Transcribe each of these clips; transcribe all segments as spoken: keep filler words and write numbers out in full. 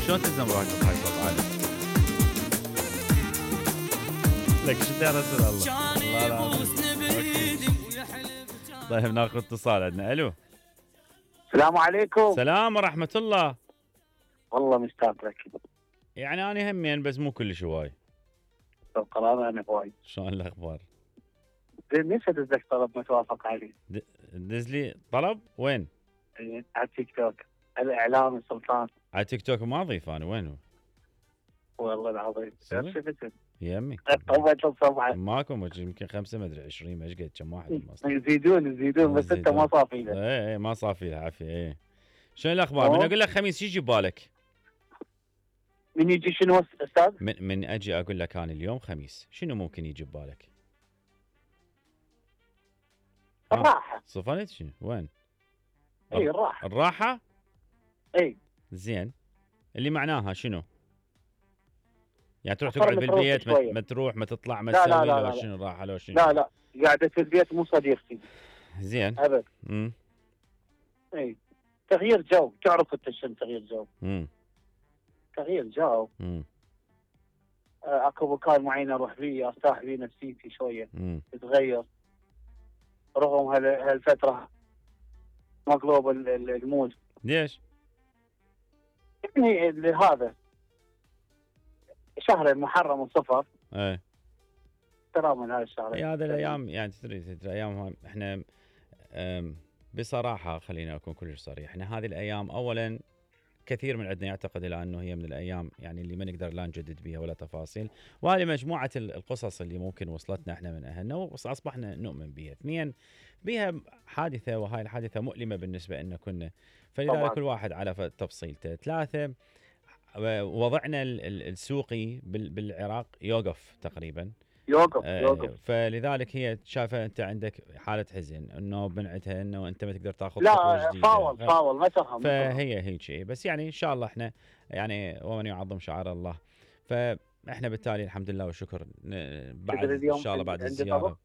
شلون تلزم روحك بهاي صوت عالي؟ لك شو يا رسول الله. الله العظيم. طيب ناخذ اتصال عندنا. الو. السلام عليكم. السلام ورحمة الله. والله مشتاق لك. يعني انا همين بس مو كلش هواي. القرار انا هواي. شلون الاخبار؟ ليش ادز لك طلب متوافق عليه؟ دز لي طلب وين؟ على التيك توك. الاعلام سلطان. على تيك توك ما اضيف انا. وين هو؟ والله العظيم شفت يمي طبت الصبح ماكو يمكن خمسه ما ادري عشرين ما ايش قد كم واحد يزيدون يزيدون بس انت ما صافي له. اي اي ما صافي له عافيه. اي شنو الاخبار؟ من اقول لك خميس شو يجي ببالك؟ من يجي شنو استاذ؟ من من اجي اقول لك انا اليوم خميس شنو ممكن يجي ببالك؟ الراحه. صفنت شنو؟ وين؟ اي الراحه. الراحه؟ اي زين اللي معناها شنو؟ يعني تروح تقعد بالبيت ما, ما تروح ما تطلع ما تسوي لو شنو الراحه لو شنو؟ لا لا قاعده في البيت مو صديقتي. زين ابد. امم اي تغيير جو. تعرف انت شنو تغيير جو؟ امم تغيير جو. امم اكو مكان معين اروح فيه ارتاح فيه نفسيتي شويه امم تتغير رغم هالفتره مقلوب المود. ليش؟ يعني هذا شهر المحرم وصفر. ايه ترى من هذا الشهر. اي هذا الايام يعني تدري تدري ايام احنا بصراحه خلينا اكون كلش صريح. احنا هذه الايام اولا كثير من عندنا يعتقد الى انه هي من الايام يعني اللي ما نقدر لا نجدد بها ولا تفاصيل، وهذه مجموعه القصص اللي ممكن وصلتنا احنا من اهلنا واصبحنا نؤمن بها. اثنين بها حادثه وهاي الحادثه مؤلمه بالنسبه لنا كنا، فلذلك كل واحد على تفصيلته. ثلاثه وضعنا السوقي بالعراق يوقف تقريبا. يوقف آه يوقف فلذلك هي شايفه انت عندك حاله حزن انه بنعتها انه انت ما تقدر تاخذ خطوه جديده. لا فاول فاول ما تفهم. فهي هيك شيء بس يعني ان شاء الله احنا يعني ومن يعظم شعائر الله فاحنا بالتالي الحمد لله والشكر بعد ان شاء الله بعد الزياره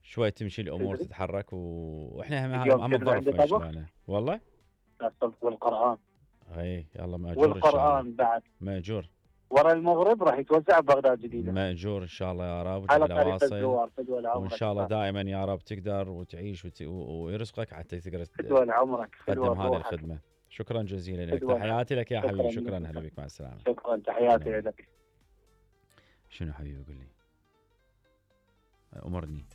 شوي تمشي الامور تتحرك واحنا هم هم الظرف والله. والقران. اي يلا ماجور والقران بعد ماجور. ورا المغرب راح يتوزع ببغداد جديده. ماجور ان شاء الله يا رب. على طريق الزوار فدوى لعمرك. وان شاء الله دائما يا رب تقدر وتعيش وت... ويرزقك حتى تقدر فدوى لعمرك تقدم هذه الخدمه. شكرا جزيلا لك. تحياتي لك يا حبيبي. شكرا هلا بك مع السلامه. شكرا تحياتي لك. شنو حبيبي قول لي امرني.